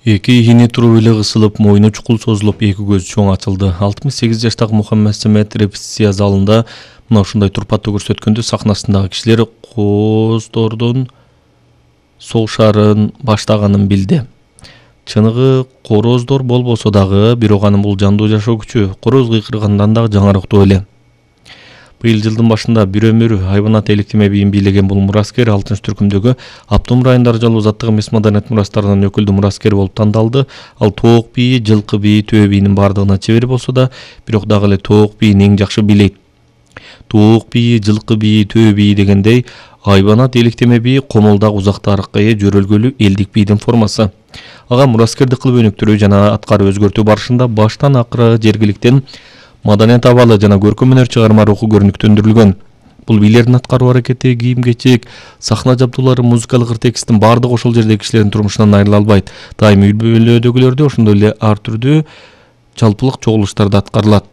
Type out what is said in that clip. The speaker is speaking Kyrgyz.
Эки ини туруп эле кысылып, мойну чукул созулуп, эки көзү чоң ачылды. 68 жаштагы Мухаммед Самет репетиция залында мына ушундай турпаттуу көрсөткөндө сахнасындагы кишилер кооздордун согушарын баштаганын билди. Чыныгы корооздор болбосо дагы, бирок анын бул жандуу жашоо күчү короз кыйкыргандан дагы жаңырактуу эле. Быйыл жылдын башында бир өмүр хайванат электеме бийин бийлеген бул мураскер 6-түркүмдөгү Аптум районунда жалуу заттык эмес маданият мурастарынын өкүлдүү мураскери болуп тандалды. Ал тоок бийи, жылкы бийи, төө бийинин бардыгына чебер болсо да, бирок дагы эле тоок бийин эң жакшы бийлейт. Тоок бийи, жылкы бийи, төө бийи дегендей, хайванат электеме бийи комолдак узак тарыхка ээ жөрөлгөлүү элдик бийдин формасы. Ага мураскердик кылып өнүктүрүү жана аткарып өзгөртүү барышында баштан акыры жергиликтен маданият абалы жана көркөм өнөр чыгарма руху көрүнүктөндүрүлгөн. Бул бийлердин аткаруу аракети, кийим-кечек, сахна жабдуулары, музыкалык текстин бардыгы ошол жердеги кишилердин турмушунан айрыла албайт. Дайым үй бүлөдөгүлөрдө ошондой эле ар түрдүү жалпылык чогулуштарда аткарылат.